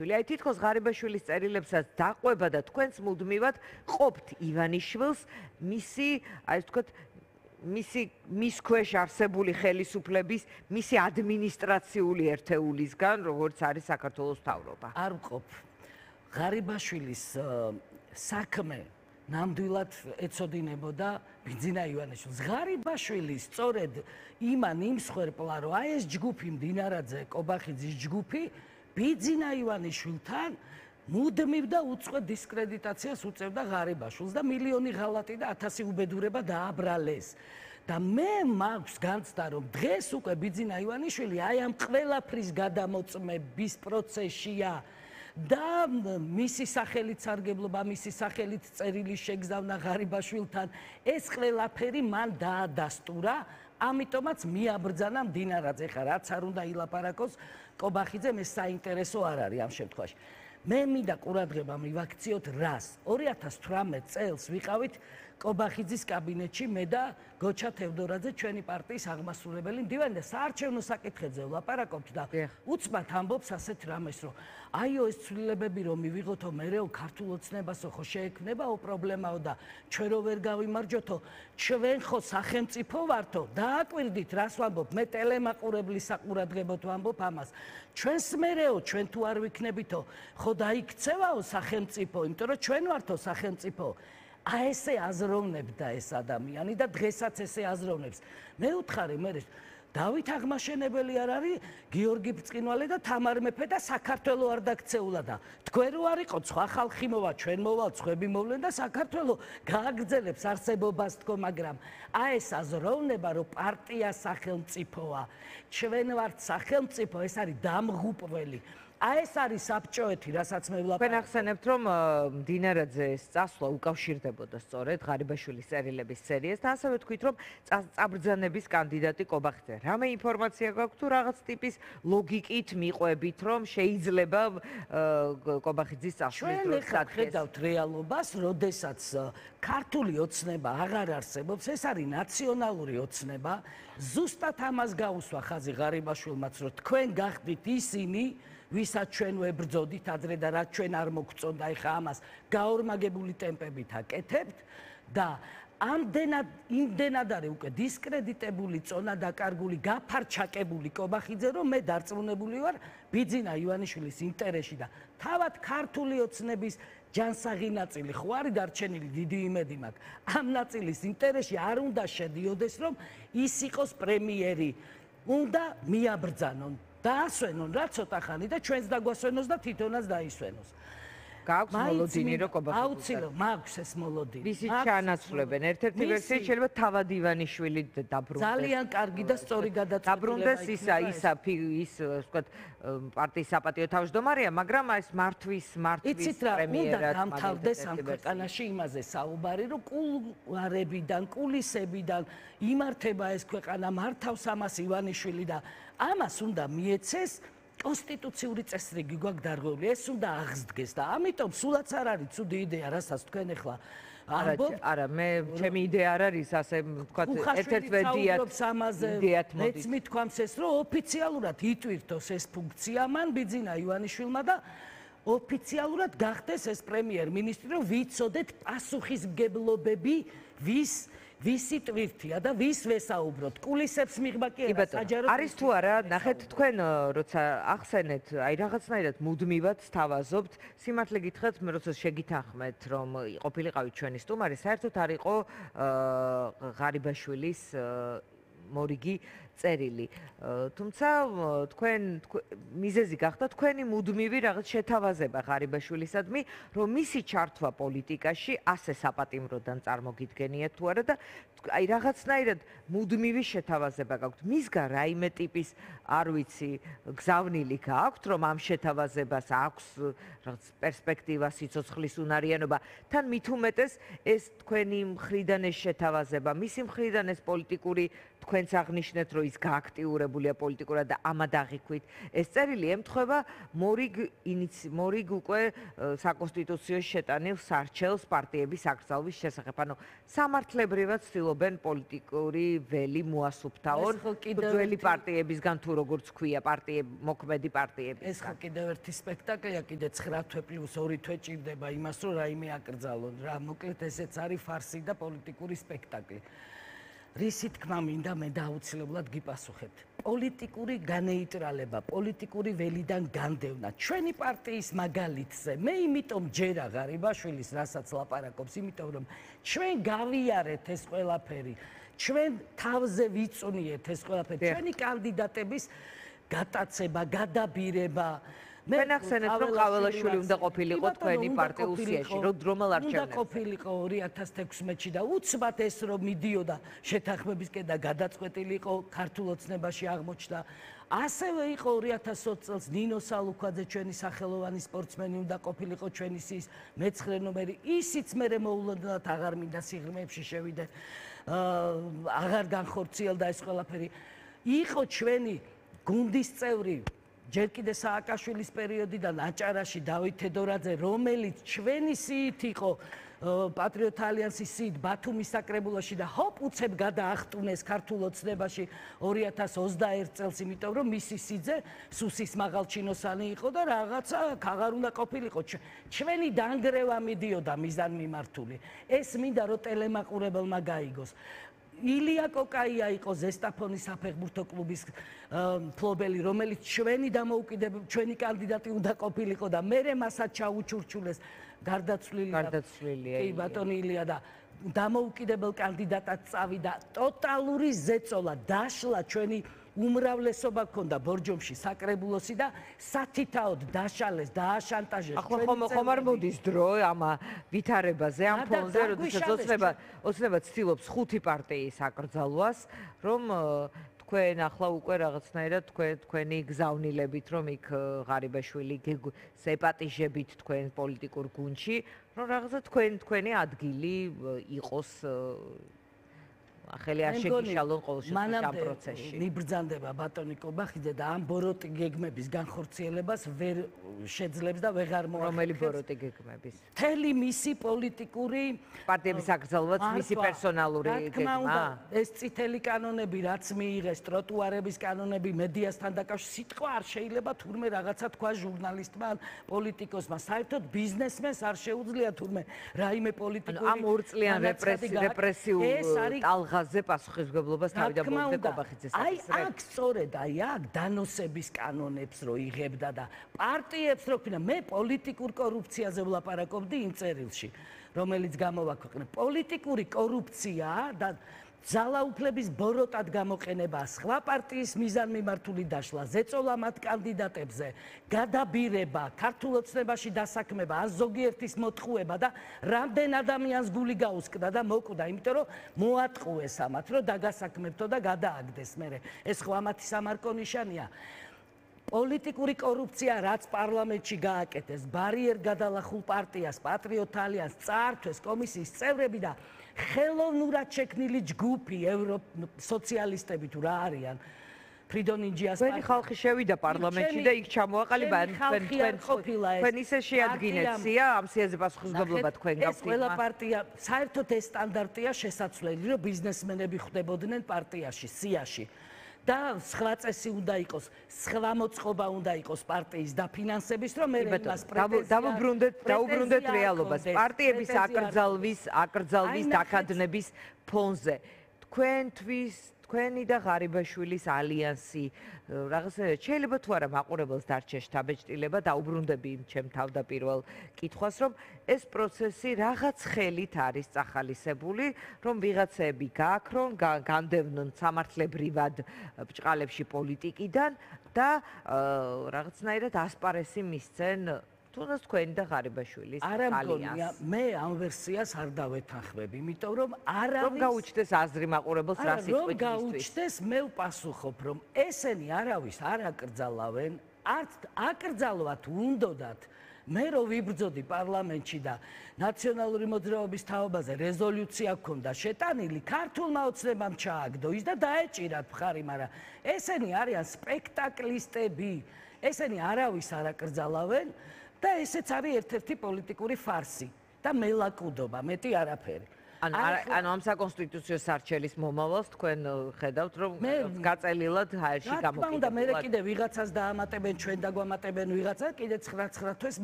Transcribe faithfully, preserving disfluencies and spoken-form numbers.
აი თითქოს ღარიბაშვილის წერილებსაც დაყვება და თქვენს მუდმივად ყოფთ ივანიშვილს მისი, აი ვთქვათ, მისი მის ქვეშ არსებული ხელისუფლების, მისი ადმინისტრაციული ერთეულისგან, როგორც არის საქართველოს მთავრობა. არ ვყოფ. ღარიბაშვილის საქმე ნამდვილად ეწოდინებოდა ბიძინა ივანიშვილს. ღარიბაშვილი სწორედ იმან იმსხვერპლა, რომ აი ეს ჯგუფი მდინარაძე, კობახიძის ჯგუფი ბიძინა ივანიშვილთან მუდმივ და უწყვეტ დისკრედიტაციას უწევდა ღარიბაშვილს და მილიონი ღალატი და ათასი უბედურება დააბრალეს. და მე მაქვს განცდა, რომ დღეს უკვე ბიძინა ივანიშვილი აი ამ ყველაფრის გადამოწმების პროცესშია და მისი სახელით სარგებლობა, მისი სახელით წერილი შეგზავნა ღარიბაშვილთან, ეს ყველაფერი მან დაადასტურა, ამიტომაც მიაბრძანა მდინარაძე. ხა რაც არ უნდა ილაპარაკოს კობახიძემ, ეს საინტერესო არ არის ამ შემთხვევაში. მე მინდა ყურადღება მივაქციოთ რას. ორი ათას თვრამეტ წელს ვიყავით კობახიძის კაბინეტში მე და გოჩა თევდორაძე, ჩვენი პარტიის აღმასრულებელი მდივანი და საარჩევნო საკითხებზე ვლაპარაკობთ და უცბად ამბობს ასეთ რამეს, რომ აიო ეს ცვლილებები რომ მივიღოთო, მერეო ქართულ ოცნებასო ხო შეექმნებაო პრობლემაო და ჩვენ რო ვერ გავიმარჯვოთო, ჩვენ ხო სახელმწიფო ვართო. დააკვირდით რას ვამბობ, მე ტელემაყურებლის საყურადღებოდ ვამბობ ამას. ჩვენს მერეო, ჩვენ თუ არ ვიქნებითო, ხო დაიქცევაო სახელმწიფო, იმიტომ რომ ჩვენ ვართო სახელმწიფო. აი ესე აზროვნებდა ეს ადამიანი და დღესაც ესე აზროვნებს. მე ვთხარი, მე დავით აღმაშენებელი არ არის, გიორგი ბრწყინვალე და თამარ მეფე და საქართველო არ დაქცეულა და თქვენ რო არ იყოთ, სხვა ხალხი მოვა, ჩვენ მოვალ, სხვები მოვლენ და საქართველო გააგრძელებს არსებობას თქო, მაგრამ აი ეს აზროვნება, რომ პარტია სახელმწიფოა, ჩვენ ვართ სახელმწიფო, ეს არის დამღუპველი. აი ეს არის საბჭოეთი, რასაც მე ვლაპარაკობ. თქვენ ახსენებთ, რომ მდინარაძეს წასვლა უკავშირდებოდა სწორედ ღარიბაშვილის წერილების სერიას და ასევე თქვით, რომ წაბრძანების კანდიდატი კობახიძე. რამე ინფორმაცია გაქვთ თუ რაღაც ტიპის ლოგიკით მიყვებით, რომ შეიძლება კობახიძის წასვლის დროს ჩვენ ხედავთ რეალობას, როდესაც ქართული ოცნება აღარ არსებობს, ეს არის ნაციონალური ოცნება. ზუსტად ამას გაუსვა ხაზი ღარიბაშვილმაც, რომ თქვენ გახდით ისინი, ვისაც ჩვენ ვებრძოდით ადრე და რაც ჩვენ არ მოგწონდა, ეხა ამას გაორმაგებული ტემპებით აკეთებთ და ამდენად იმდენად არის უკვე დისკრედიტებული, წონა დაკარგული, გაფარჩაკებული კობახიძე, რომ მე დარწმუნებული ვარ ბიძინა ივანიშვილის ინტერესში და თავად ქართული ოცნების ჯანსაღი ნაწილი ხო არის დარჩენილი, დიდი იმედი მაქვს. ამ ნაწილის ინტერესში არ უნდა შედიოდეს, რომ ის იყოს პრემიერი. უნდა მიაბრძანონ. დაასვენონ რა ცოტა ხანი და ჩვენს დაგვასვენოს და თვითონაც დაისვენოს. გაქვს მოლოდინი რო კობახიძე. აუცილებლად მაქვს ეს მოლოდინი. ვისი ჩანაცვლებენ. ერთ-ერთი ვერსია შეიძლება თავად ივანიშვილი დაბრუნდეს. ძალიან კარგი და სწორი გადაწყვეტილება. დაბრუნდეს ისა ისა ის ვთქვათ პარტიის საპატიო თავმჯდომარეა, მაგრამ ეს მართვის მართვის პრემიერად უნდა დამთავრდეს ამ ქვეყანაში იმაზე საუბარი, რომ კულუარებიდან, კულისებიდან იმართება ეს ქვეყანა, მართავს ამას ივანიშვილი და ამას უნდა მიეცეს კონსტიტუციური წესრიგი გვაქვს დარღვეული, ეს უნდა აღსდგეს და ამიტომ სულაც არ არის ცუდი იდეა, რასაც თქვენ ახლა ამბობთ. არა, მე ჩემი იდეა არ არის ასე ვთქვათ, ერთ-ერთ ვედიათ იდეათ მოდის. მეც მithქვამს ეს, რომ ოფიციალურად იტვირთოს ეს ფუნქცია მან ბიძინა ივანიშვილმა და ოფიციალურად გახდეს ეს პრემიერ-მინისტრი, რომ ვიცოდეთ პასუხისმგებლობები ვის ვისი ტვირთია და ვის ვესაუბროთ. კულისებს მიღება კი არა, საჯარო არის თუ არა, ნახეთ თქვენ როცა ახსენეთ, აი რაღაცნაირად მუდმივად სთავაზობთ, სიმართლე გითხრათ, მე როცა შეგითანხმეთ, რომ ყოფილიყავით ჩვენი სტუმარი, საერთოდ არ იყო ღარიბაშვილის მორიგი წერილი. თუმცა თქვენ მიზეზი გახდა თქვენი მუდმივი რაღაც შეთავაზება ღარიბაშვილისადმი, რომ მისი ჩართვა პოლიტიკაში ასე საპატიმროდან წარმოგიდგენიათ თუ არა და აი რაღაცნაირად მუდმივი შეთავაზება გაქვთ. მისგან რაიმე ტიპის არ ვიცი, გზავნილი გაქვთ, რომ ამ შეთავაზებას აქვს რაღაც პერსპექტივა, სიცოცხლის უნარიანობა. თან მით უმეტეს ეს თქვენი მხრიდან ეს შეთავაზება, მისი მხრიდან ეს პოლიტიკური თქვენც აღნიშნეთ, რომ ის გააქტიურებულია პოლიტიკურად და ამად აღიქვით. ეს წერილი ემთხვევა მორიგ მორიგ უკვე საკონსტიტუციო შეტანილ სარჩელს პარტიების აკრძალვის შესახებ. ანუ სამართლებრივად ცდილობენ პოლიტიკური ველი მოასუფთავონ ძველი პარტიებისგან თუ როგორც ქვია პარტიები მოქმედი პარტიები. ეს ხო კიდევ ერთი სპექტაკლია, კიდე ცხრა თვე პლუს ორი თვე ჭირდება იმას, რომ რაიმე აკრძალონ. რა, მოკლედ ესეც არის ფარსი და პოლიტიკური სპექტაკლი. რისი თქმა მინდა მე დაუცილებლად გიპასუხებთ. პოლიტიკური განეიტრალება, პოლიტიკური ველიდან განდევნა. ჩვენი პარტიის მაგალითზე მე იმიტომ ჯერა ღარიბაშვილის, რასაც ლაპარაკობს, იმიტომ რომ ჩვენ გავიარეთ ეს ყველაფერი. ჩვენ თავზე ვიწუნიეთ ეს ყველაფერი. ჩვენი კანდიდატების გატაცება, გადაბირება. თქვენ ახსენეთ, რომ ყაველაშვილი უნდა ყოფილიყო თქვენი პარტიულ სიაში, რომელ არჩევნებზე? უნდა ყოფილიყო ორი ათას თექვსმეტში და უცბად ეს რომ მიდიოდა შეთანხმებისკენ და გადაწყვეტილიყო ქართულ ოცნებაში აღმოჩნდა. ასევე იყო ორი ათას ოცი წელს ნინო სალუქვაძე, ჩვენი სახელოვანი სპორტსმენი უნდა ყოფილიყო ჩვენი სიის მეცხრე ნომერი. ისიც მერე მოულოდნელად აღარ მინდა სიღრმეებში შევიდე. აღარ განხორციელდა ეს ყველაფერი. იყო ჩვენი გუნდის წევრი ჯერ კიდე სააკაშვილის პერიოდიდან აჭარაში დავით თედორაძე, რომელიც ჩვენი სიით იყო პატრიოტ ალიანსის სიით ბათუმის საკრებულოში და ჰოპ უცებ გადაახტუნეს ქართულ ოცნებაში ორი ათას ოცდაერთ წელს, იმიტომ რომ მისი სიძე სუსის მაღალჩინოსანი იყო და რაღაცა აღარ უნდა ყოფილიყო. ჩვენი დანგრევა მიდიოდა მიზანმიმართული. ეს მინდა რომ ტელემაყურებელმა გაიგოს. ილია კოკაია იყო ზესტაფონის საფეხბურთო კლუბის მფლობელი, რომელიც ჩვენი დამოუკიდებელ ჩვენი კანდიდატი უნდა ყოფილიყო და მერე მასაც ჩაუჩურჩულეს გარდაცვლილი გარდაცვლილია. კი ბატონი ილია და დამოუკიდებელ კანდიდატად წავიდა. ტოტალური ზეწოლა, დაშლა ჩვენი უმრავლესობა ქონდა ბორჯომში საკრებულოსი და სათითაოდ დაშალეს, დააშანტაჟეს. ახლა ხომ ხომ არ მოდის დრო ამ ვითარებაზე, ამ ფონზე, როდესაც ოცნება ოცნება ცდილობს ხუთი პარტიის აკრძალვას, რომ თქვენ ახლა უკვე რაღაცნაირად თქვენ თქვენი გზავნილებით, რომ იქ ღარიბაშვილი სეპატიჟებით თქვენ პოლიტიკურ გუნდში, რომ რაღაცა თქვენ თქვენი ადგილი იყოს ახალი არ შეგიშალონ ყოველ შემთხვევაში ამ პროცესში. მიბრძანდება ბატონი კობახიძე და ამ ბოროტი გეგმების განხორციელებას ვერ შეძლებს და ვეღარ მოახერხებს. რომელი ბოროტი გეგმების? მთელი მისი პოლიტიკური პარტიების აკრძალვაც მისი პერსონალური გეგმა. ეს წითელი კანონები, რაც მიიღეს, ტროტუარების კანონები, მედიასთან დაკავშირებით, სიტყვა არ შეიძლება თურმე რაღაცა თქვა ჟურნალისტმა ან პოლიტიკოსმა. საერთოდ ბიზნესმენს არ შეუძლია თურმე რაიმე პოლიტიკური ამ ორწლიან რეპრესიულ ტალღას ზე პასუხისმგებლობას თავიდან ბოლომდე კობახიძეს აი აქ სწორედ აი აქ დანოსების კანონებს რო იღებდა და პარტიებს რო ქნა მე პოლიტიკურ კორუფციაზე ვლაპარაკობდი იმ წერილში რომელიც გამოვაქვეყნე პოლიტიკური კორუფცია და ძალაუფლების ბოროტად გამოყენება სხვა პარტიის მიზანმიმართული დაშლა ზეწოლა მათ კანდიდატებზე გადაბირება ქართულ ოცნებაში დასაქმება ან ზოგიერთის მოტყუება და რამდენ ადამიანს გული გაუსკდა და მოკვდა იმიტომ რომ მოატყუეს ამათ რომ დაგასაქმებთო და გადააგდეს მერე ეს ხო ამათი სამარკო ნიშანია პოლიტიკური კორუფცია რაც პარლამენტში გააკეთეს ბარიერ გადალახულ პარტიას პატრიოტ ალიანს წაართვეს კომისიის წევრები და ხელოვნურად შექმნილი ჯგუფი ევროსოციალისტები თუ რა არიან ფრიდონ ინჯიას პარტია ხალხი შევიდა პარლამენტში და იქ ჩამოაყალიბა თქვენ თქვენ თქვენ ისე შეადგინეთ სია ამ სიაზე პასუხისმგებლობა თქვენ გაქვთ ეს ყველა პარტია საერთოდ ეს სტანდარტია შესაძლებელი რომ ბიზნესმენები ხვდებოდნენ პარტიაში სიაში და სხვა წესი უნდა იყოს, სხვა მოწყობა უნდა იყოს პარტიის დაფინანსების, რომ მე იმას პრეტენზია დავუბრუნდეთ, დავუბრუნდეთ რეალობას. პარტიების აკრძალვის, აკრძალვის დაქადნების ფონზე. თქვენთვის, თქვენი და ღარიბაშვილის ალიანსი, რაღაცა შეიძლება თუ არა მაყურებელს დარჩე შთაბეჭდილება, დაუბრუნდები იმ ჩემ თავდაპირველ კითხვას, რომ ეს პროცესი რაღაც ხელით არის წახალისებული, რომ ვიღაცები გააქრონ, განდევნონ სამართლებრივად ბჭყალებში პოლიტიკიდან და რაღაცნაირად ასპარესი მისცენ თუნდაც თქვენი და ღარიბაშვილის ალიანსს. მე ამ ვერსიას არ დავეთანხმებ, იმიტომ რომ არავის რომ გაუჩნდეს აზრი მაყურებელს რა სიტყვით რომ გაუჩნდეს, მე ვპასუხობ, რომ ესენი არავის არ აკრძალავენ, არც აკრძალვათ უნდათ მე რო ვიბრძოდი პარლამენტში და ნაციონალური მოძრაობის თაობაზე რეზოლუცია ჰქონდა შეტანილი, ქართულმა ოცნებამ ჩააგდო ის და დაეჭირათ მხარი, მაგრამ ესენი არიან სპექტაკლისტები, ესენი არავის არ აკრძალავენ და ესეც არის ერთ-ერთი პოლიტიკური ფარსი და მელაკუდობა, მეტი არაფერი. ანუ ანუ ამ საკონსტიტუციო სარჩელის მომავალს თქვენ ხედავთ რომ გაწელილად ჰაერში გამოკიდებულად. რა თქმა უნდა, მე კიდე ვიღაცას დაამატებენ, ჩვენ დაგვამატებენ ვიღაცა, კიდე ცხრა ცხრა თვეს